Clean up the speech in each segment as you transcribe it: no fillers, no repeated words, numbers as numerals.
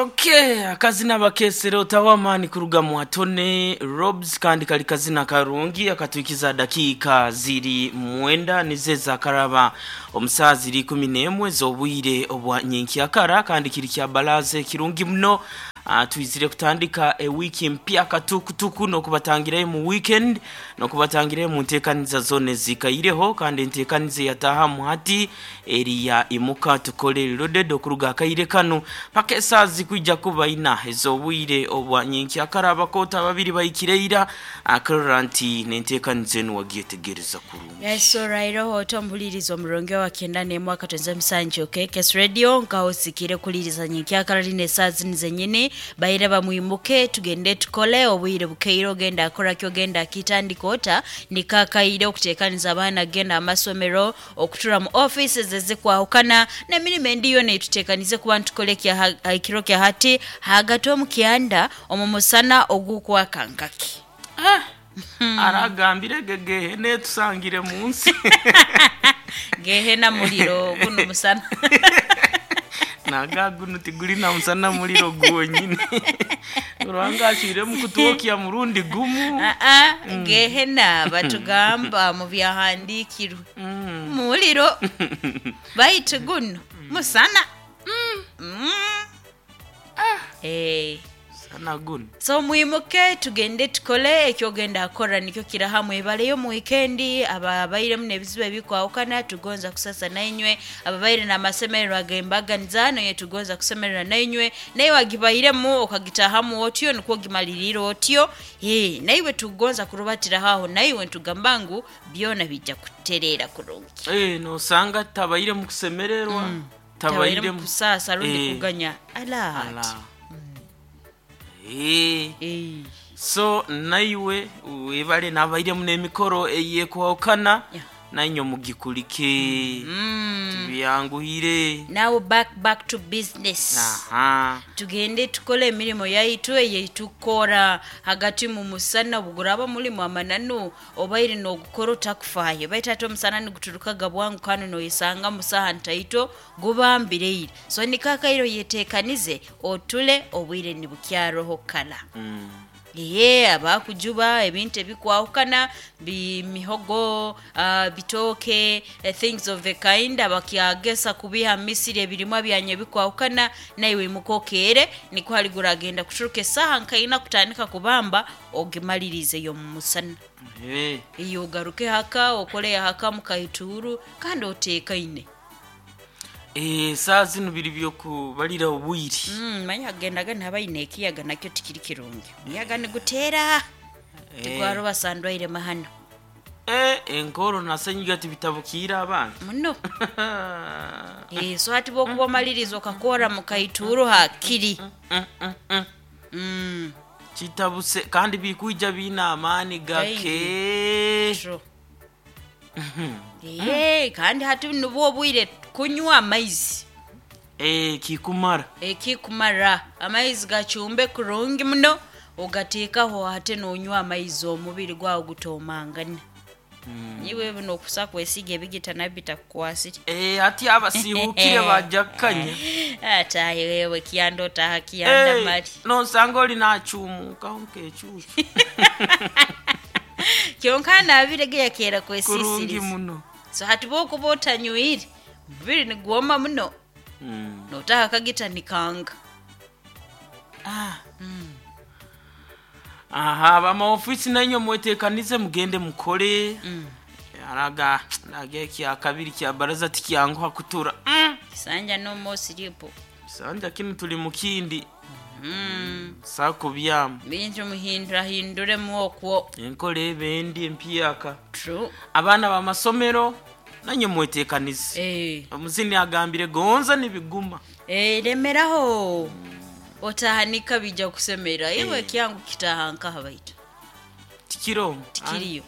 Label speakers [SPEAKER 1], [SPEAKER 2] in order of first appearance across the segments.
[SPEAKER 1] Okay, akazina bakesere otawa amaani kuruga mu Atone Robs, kandi kali kazina karungi akatwikiza dakiika ziri mwenda nizo ezakaraba omu saa ziri 11 z'obwire obwa nyenkyakara, kandi kiri kya balaza kirungi muno. Twizire kutandika ewiki mpya katukutuku n'okubatangirayo mu weekend, n'okubatangirayo mu nteekaniza zoona ezikaireho, kandi enteekaniza eyatahamu hati eri ya Imuka Tukole Loaded okuruga akaire kanu paka esaaha zikwija kuba ina ez'obwire obwa nyenkyakara. Abakoota babiri bahikire ira akarora nti n'enteekaniza enu wagyetegereza kurungi.
[SPEAKER 2] Yes, olwaireho oti omuhuliriza omurungi owa 91.7 KKS Radio, nkaho osikire kuliriza nyenkyakara rino esaaha zinu zenyini. Baire bamwimuke tugende tukole obwire bukeire, ogenda akoraki, ogenda akitandika ota nikakaire okutekaniza abaana kugenda amasomero, okutura mu offices ezikwahukana n'emirimo endi yoona etutekanize kuba nitukora ekiro kya hati hagati omu kyanda omu musana ogukwaka nkaki.
[SPEAKER 1] Aragambire ge gehena etusangire mu nsi.
[SPEAKER 2] Gehena muliro, gunu musana.
[SPEAKER 1] Naga gunu tiguli na musana, muliro gwonyini. Ruhanga acwiremu kutwokya murundi gumu.
[SPEAKER 2] Aa, gehena batugamba mu byahandiikirwe muliro, baitu guno musana.
[SPEAKER 1] Musana guno.
[SPEAKER 2] So mwimuke tugende tukole, ekyogenda akora nikyo kiraha mwebaleyo mu wikendi. Ababairemu n'ebizibu ebikwahukana tugonza kusasa nainywe, ababaire n'amasemererwa ag'embaganiza naye tugonza kusemererwa nainywe, naye wagibairemu okagitahamu otyo nikwo ogimaliriire otyo, naiwe tugonza kurubatiraho aho naiwe nitugamba ngu byona bijja kutereera kurungi.
[SPEAKER 1] Nosanga tabaire mu kusemererwa,
[SPEAKER 2] tabairemu
[SPEAKER 1] tabairemu
[SPEAKER 2] kusaasa rundi kuganya ala
[SPEAKER 1] ala
[SPEAKER 2] ati.
[SPEAKER 1] So naiwe webale nabairemu n'emikoro eyekwahukana, nainywe mugikulike, tibyanguhire.
[SPEAKER 2] Now back to business. Tugende tukole emirimo yaitu eyetukora hagati mu musana. Obuguraba mulimu amananu obaire n'ogukora otakufaayo, baitu ate omusana niguturukaga bwangu kandi noyesanga mu saaha ntaito gubambireire. So nikakaire oyetekanize otule obwire nibukyaroho kara. Abakujuba ebintu ebikwahukana mihogo, bitooke, things of the kind, abakyagesa kubiha misiri ebirimwa byanyu ebikwahukana, naiwe imuka okeere nikwo hali guragenda kuturuka esaaha nkaina kutandika kubamba ogimalirize y'omu musana. Iyo ogaruke haka okole haka mukaituuru kandi oteekaine.
[SPEAKER 1] Saaha zinu biri by'okubalira obwire.
[SPEAKER 2] Manya hagendaga nihabayo n'ekiyaga nakyo tikiri kirungi. Omuyaga niguteera tigwaroba ndwaire mahano.
[SPEAKER 1] Enkoro na senyiga tibitabukiire abantu.
[SPEAKER 2] Muno. So hati bwokuba omaliriza okakora mukaituuru hakiri.
[SPEAKER 1] Kitabuse kandi bikwija biine amaani gake.
[SPEAKER 2] True. Kandi hati nibwo obwire kunywa amaizi.
[SPEAKER 1] Kikumara.
[SPEAKER 2] Ekikumara amaizi gacumbe kurungi muno ogateekaho ate nonywa amaizi omubiri gwawe gutomangana. Iwe nokusa kwesiga ebigita nabyo bitakukwasire.
[SPEAKER 1] Hati abasiihukire baja kukanya.
[SPEAKER 2] Atahe wewe kyanda otaha kyanda mali.
[SPEAKER 1] Nosanga oli nacumukaho nk'ecuucu.
[SPEAKER 2] Kyonka nabire ge yakeera
[SPEAKER 1] Kurungi
[SPEAKER 2] kwesisiriza.
[SPEAKER 1] muno.
[SPEAKER 2] So hati bwokuba otanywire omubiri nigwoma muno. Notaha akagita nikanga.
[SPEAKER 1] Aha, abamaofisi nainywe mwetekanize mugende mukole. Araga naga ekya kabiri kya baraza tikyanguha kutura.
[SPEAKER 2] Kisanja no more sleep.
[SPEAKER 1] Kisanja kinu tuli mukindi. Sakubyamu.
[SPEAKER 2] Bintu muhindurahinduremu okwo.
[SPEAKER 1] Enkola ebe endi empyaka.
[SPEAKER 2] True.
[SPEAKER 1] Abaana b'amasomero nanye mwetekanize. Omuzini agambire gonza nibiguma.
[SPEAKER 2] Remeraho otahanika bija kusemera iwe kyangu kitaha nkaha baitu.
[SPEAKER 1] Tikiro.
[SPEAKER 2] Tikiriyo.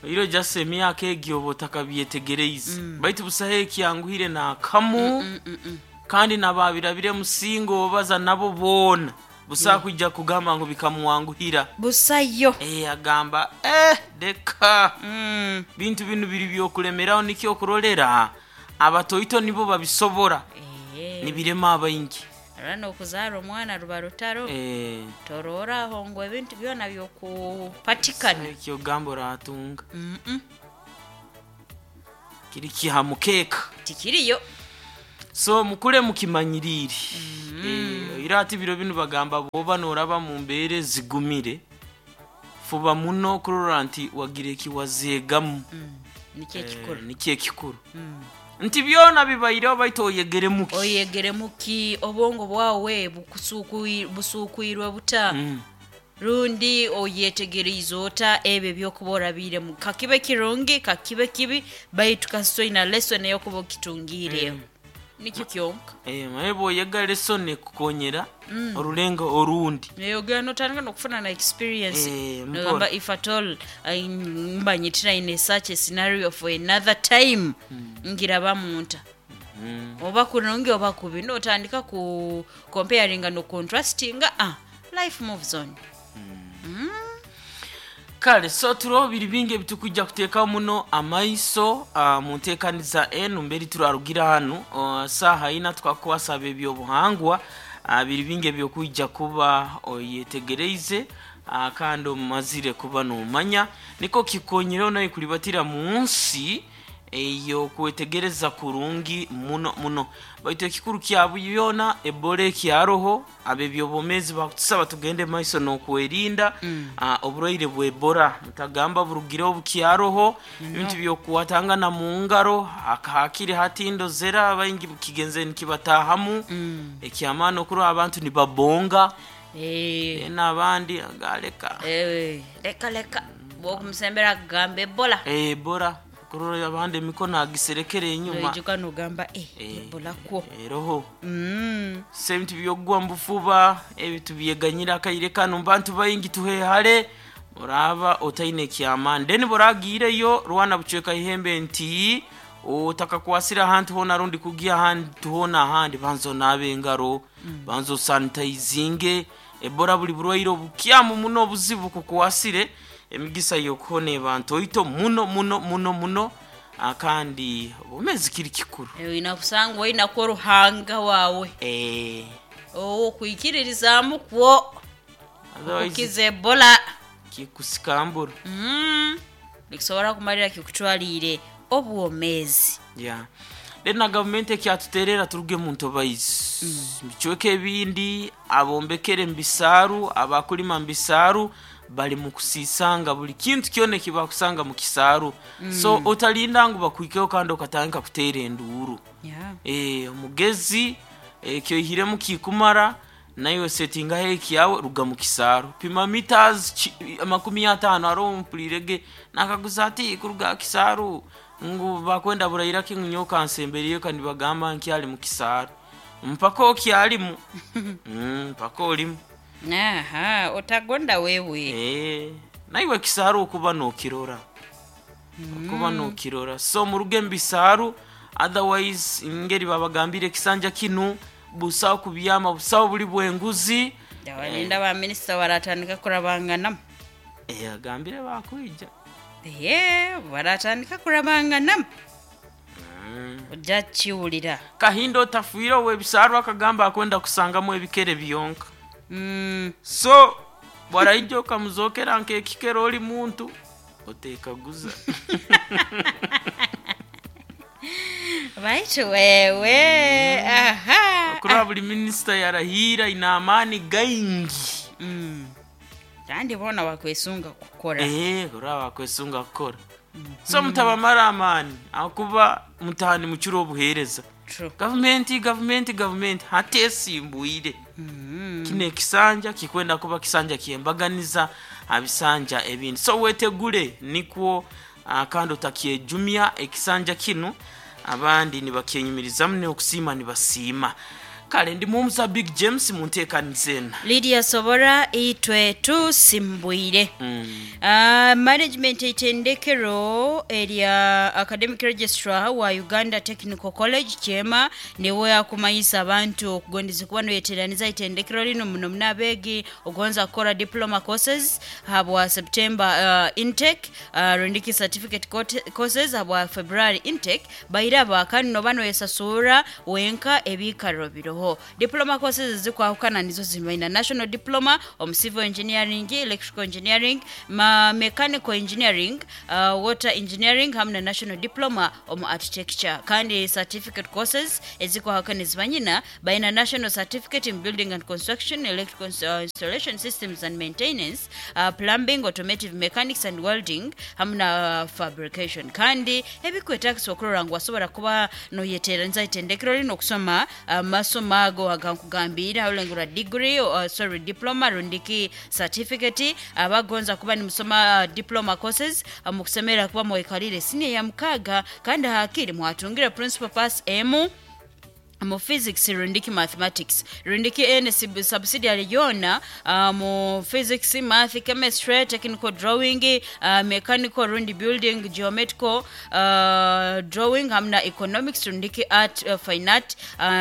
[SPEAKER 1] Iro jase emyaka egyo oba otakabyetegereize. Baitu busaho ekyanguhire n'akamu, kandi nababirabire musingo obaza nabo boona busaho kwija kugamba ngu bikamwanguhira.
[SPEAKER 2] Busayo.
[SPEAKER 1] Agamba deka. Bintu binu biri byokulemeraho nikyo okurolera abatoito nibo babisobora. Nibirema abaingi.
[SPEAKER 2] Era n'okuzaara omwana ruba rutaro.
[SPEAKER 1] Eh,
[SPEAKER 2] Torooraho ngu ebintu byona byokupatikana.
[SPEAKER 1] Ekyogamba oratunga.
[SPEAKER 2] Mm-mm.
[SPEAKER 1] Kiri kiha mukeeka.
[SPEAKER 2] Tikiriyo.
[SPEAKER 1] So mukule mukimanyirire. Eh, era ati biro binu bagamba bwoba noraba mu mbeera ezigumire, fuba muno kurora nti wagira ekiwazeegamu.
[SPEAKER 2] Nikyo ekikuru.
[SPEAKER 1] Eh, nikyo ekikuru nti byona bibaireho baitu oyegeremu ki?
[SPEAKER 2] Oyegeremu ki? Obwongo bwawe busuukwirwe buta? Rundi oyetegereize ota ebyo ebyokuba orabiiremu? Kakibe kirungi, kakibe kibi, baitu kasita oina lesson eyokuba okitungiireho. Nikyo kyonka.
[SPEAKER 1] Eh, maye bwoyega lesson ekukonyera orulengo orundi.
[SPEAKER 2] Neyogera notandika nokufuna na experience.
[SPEAKER 1] Eh, mpola.
[SPEAKER 2] Nogamba if at all mba nyitira in a such a scenario for another time, ngiraba munta oba kurungi oba kubi, notandika ku comparinga no contrastinga, life moves on.
[SPEAKER 1] Kale so turoho biri bingi ebitukujja kuteekaho muno amaiso mu nteekaniza enu mberi turarugira hanu saaha ina tukakwasaba ebyobuhangwa. Biri bingi ebyokwijja kuba oyetegereize, kandi omazire kuba nomanya niko kikonyireho naye kulibatira mu nsi ey'okwetegereza kurungi muno muno. Baitu ekikuru kya byona, ebola ekyaroho, ab'ebyobwomeezi bakutusaba tugende maiso n'okwerinda. Oburwaire bwa ebola mutagamba burugireho, bukyaroho. Ebintu byokukwatangana mu ngaro hakiri hatindozera baingi kigenze nikibatahamu. Ekyamaani okurora abantu nibabonga.
[SPEAKER 2] Eh,
[SPEAKER 1] then abandi agaleka.
[SPEAKER 2] Eh, leka leka bwokumusembera akugamba ebola.
[SPEAKER 1] Ebola kurora abandi emikono agiserekere enyuma.
[SPEAKER 2] Noijuka nogamba eh, ebola kwo.
[SPEAKER 1] Eroho. Se ebintu byokugwa mu bufuba ebintu byeganyira akaire kanu bantu baingi tuhehale oraba otaine ekyamaani, then boragiireyo rwana bucweka ihembe nti otakakwasire ahantu hoona rundi kugia ahantu hoona ahandi, banza onaabe engaro, banza osanitayizinge. Ebola buli burwaire obukyamu muno obuzibu kukwasire, emigisa y'okuhona eba ntoito muno muno muno muno. Kandi obwomeezi kiri kikuru.
[SPEAKER 2] Oina kusanga oinako ruhanga wawe.
[SPEAKER 1] Eh,
[SPEAKER 2] okwikiririzaamu kwo
[SPEAKER 1] otherwise
[SPEAKER 2] kukiza ebola.
[SPEAKER 1] Kikusikambura.
[SPEAKER 2] Nikisobora kumalira kikutwaliire obwomeezi.
[SPEAKER 1] Yeah. Then na gavumenti ekyatuterera turuge mu ntobaizi bicweka ebindi, abombekere mu bisaaru, abakulima mu bisaaru bali mu kusisanga buli kintu kyona ekibakusanga mu kisaaru. So otalinda ngu bakwikeho kandi okatandika kuteera enduuru.
[SPEAKER 2] Yeah.
[SPEAKER 1] Eh, omugezi ekyoihiremu kikumara, naiwe setingaho ekyawe, ruga mu kisaaru, pima meters 50. Aroho mpulirege nakaguza ati kuruga kisaaru ngu bakwenda burairaki, ngu nyowe kansemberiyo kandi bagamba nkyali mu kisaaru mpaka okyalimu. Mpaka olimu.
[SPEAKER 2] Aha, otagonda wewe.
[SPEAKER 1] Eh, naiwe kisaaru okuba nokirora, okuba nokirora. So muruge mu bisaaru, otherwise ngeri babagambire ekisanja kinu busawo kubyama, busawo buli bwenguzi.
[SPEAKER 2] Ndabalinda ba minisita baratandika kurabanganamu.
[SPEAKER 1] Eh, agambire bakwija.
[SPEAKER 2] Ye baratandika kurabanganamu, ojja kiwulira.
[SPEAKER 1] Kahinda otafiire ow'ebisaaru akagamba akwenda kusangamu ebikere byonka. So bwaraija okamuzokera nk'ekikere oli muntu otekaguza.
[SPEAKER 2] Baitu wewe aha.
[SPEAKER 1] Kuraba buli minisita yarahiira ina amaani gaingi.
[SPEAKER 2] Kandi bona bakwesunga kukora.
[SPEAKER 1] Eh, kuraba bakwesunga kukora. So mutabamara amaani akuba mutahani mukiro obuheereza.
[SPEAKER 2] True.
[SPEAKER 1] Gavumenti gavumenti gavumenti hatesimbwire. Kino ekisanja kikwenda kuba kisanja kyembaganiza abisanja ebindi, so wetegule nikwo kandi otakyejumya ekisanja kinu abandi nibakyenyumirizamu n'okusiima nibasiima. Kale ndi mumusa Big James mu nteekaniza ena.
[SPEAKER 2] Lydia Sobora, itwe tusimbwire. Management eitendekero erya academic registrar wa Uganda Technical College Kyema niwe akumanyisa abantu okugondeza kuba noyeteraniza itendekero lino muno muno abeegi ogonza kukora diploma courses habwa September intake, rundiki certificate courses habwa February intake bairaba kandi noba noyesasura wenka ebikaro biroho. Buruho diploma courses ezikwahukana nizo zimaina national diploma omu civil engineering, electrical engineering, mechanical engineering, water engineering hamwe na national diploma omu architecture. Kandi certificate courses ezikwahukana ezibanyina baina national certificate in building and construction, electrical installation systems and maintenance, plumbing, automotive mechanics and welding hamwe na fabrication. Kandi ebikwetagisa okurora ngu wasobora kuba noyeteeraniza itendekero lino okusoma amasomo ago agankugambire aholengera degree, sorry, diploma rundiki certificate. Abagonza kuba nimusoma diploma courses, mukusemera kuba mwekalire senior ya 6 kandi hakiri mwatungire principal pass emu mu physics rundiki mathematics rundiki ene subsidiary yona, mu physics, math, chemistry, technical drawing, mechanical rundi building, geometrical drawing hamwe na economics rundiki art, fine art,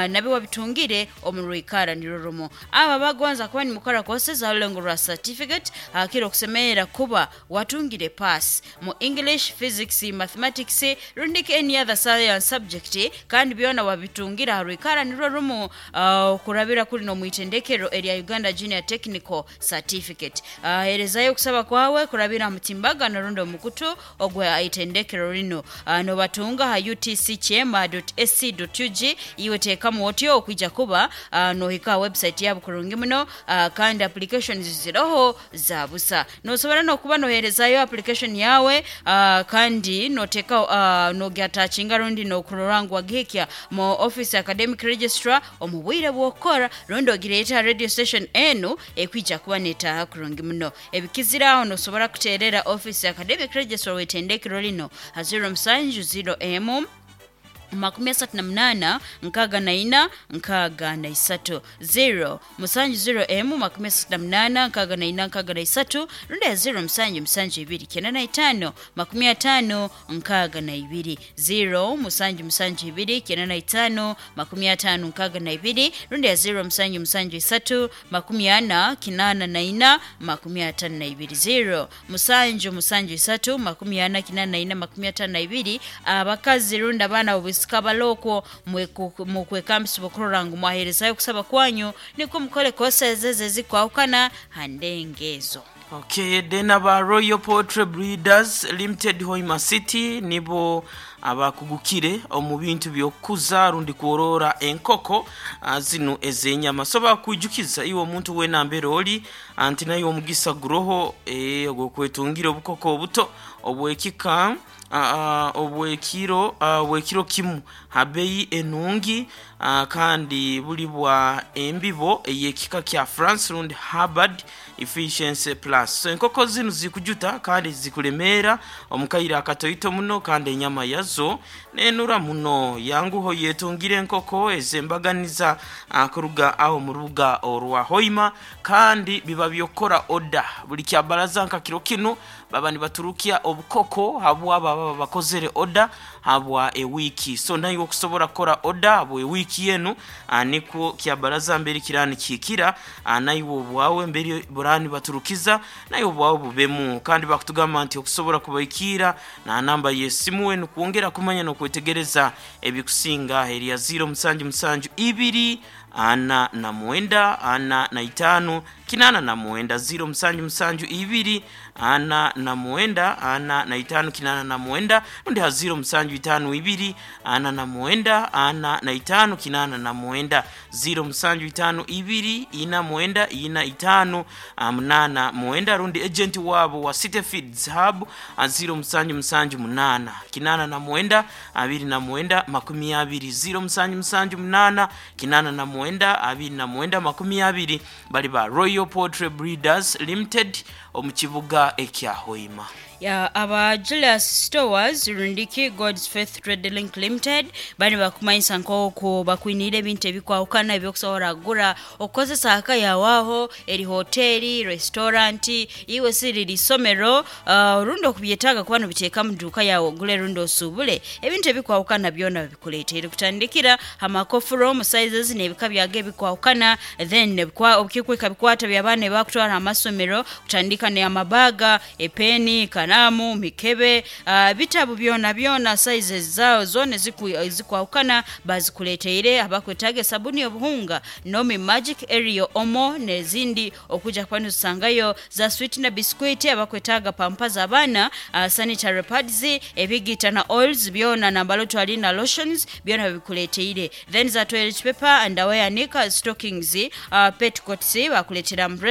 [SPEAKER 2] nabyo wabitungire omu rwikara nirwo rumu. Aba bagonza kuba nimukora courses arulengo rwa certificate, hakiri okusemerera kuba watungire pass mu English, physics, mathematics rundiki any other science subject, kandi byona wabitungira ha rwikara nirwo rumu, kurabira kuri no mwitendekero erya Uganda Junior Technical Certificate. Herezayo okusaba kwawe kurabira mutimbagano rundi omukutu ogwa itendekero rino, nobatunga ha utckyema.ac.ug. Iwe teekamu otyo okwija kuba nohika website yabo kurungi muno. Kandi applications ziroho za busa, nosobora nokuba noherezayo application yawe, kandi noteka nogyatachinga rundi nokurora ngu wagihikya mu office academic registrar omu bwire bw'okukora, rundi ogireeta radio station enu ekwija kuba netaaha kurungi muno. Ebikiziraho nosobora kuteerera office academic registrar w'etendekero lino ha 070 emu 38 64 63, 0 7 0 emu 38 64 63, rundi ya 0 7 7 2 95 50 62, 0 7 7 2 95 50 62, rundi ya 0 7 7 3 40 84 52, 0 7 7 3 40 84 52. Abakazi rundi abaana obwisika balokwo mukwekambisa okurora ngu mwaherezayo okusaba kwanyu nikwo mukole courses ezo ezikwahukana ha ndengo ezo.
[SPEAKER 1] Okay, then aba Royal Poultry Breeders Limited Hoima City nibo abakugukire omu bintu by'okukuza rundi kworora enkoko zinu ez'enyama. So bakwijukiza iwe omuntu wena mbere oli anti naye omugisa guroho ogw'okwetungira obukoko obuto obwekika obwekiro kimu habeyi enungi, kandi buli bwa embibo ey'ekika kya France rundi Harvard Efficiency Plus. So enkoko zinu zikujuta kandi zikulemeera omukaire akatoito muno, kandi enyama yazo nenura muno. Yanguho yetungire enkoko ezembaganiza kuruga aho mu rubuga orwa Hoima, kandi biba byokora oda buli kyabaraza nka kiro kinu baba nibaturukya obukoko habwa baba bakozere oda habwa ewiki. So nayo okusobora kukora oda habwa ewiki yenu, nikwo kyabaraza mbere kirani kikira, naiwe obwawe mbere burani baturukiza nayo obwawe bubemu. Kandi bakutugamba nti okusobora kubaikira na namba y'esimu wenu kwongera kumanya n'okwetegereza ebikusinga erya 0 7 7 2 49 45 89, 0 7 7 2 49 45 89, rundi ha 0 7 5 2 49 45 89, 0 7 5 2 4 9 5 8 9, rundi agent wabo wa City Feeds Hub 0 7 7 8 89 29 20, 0 7 7 8 89 29 20. Bali ba Royal Poultry Breeders Limited omu kibuga ekya Hoima.
[SPEAKER 2] Ya aba Julius Stores rundiki God's Faith Trade Link Limited bani bakumanyisa nk'oku bakwinire ebintu ebikwahukana ebyokusobola kugura okukozesa aka yawaho eri hoteri, restaurant, iwe siri lisomero, rundi okubyetaaga kuba nobiteeka mu duuka yawe ogule rundi osuubule ebintu ebikwahukana byona babikuleeteire kutandikira amakofuro mu sizes n'ebika byago ebikwahukana, then obukikwika bikwata by'abaana ebakutwara amasomero kutandika n'amabaga. Abakwetaaga epeni, kalamu, mikebe, bitabu byona byona, sizes zao zona ezikwahukana bazikuleteire. Abakwetaaga esabuni obuhunga, Nomi Magic, Ariel, Omo n'ezindi, okuja kuba nizisangayo za sweet na biscuit. Abakwetaaga pampa z'abaana, sanitary pads, ebigita na oils byona, nambalo twali na lotions, byona babikuleteire. Then za toilet paper, underwear, nika stockings, petticoats, bakuletera umbrella.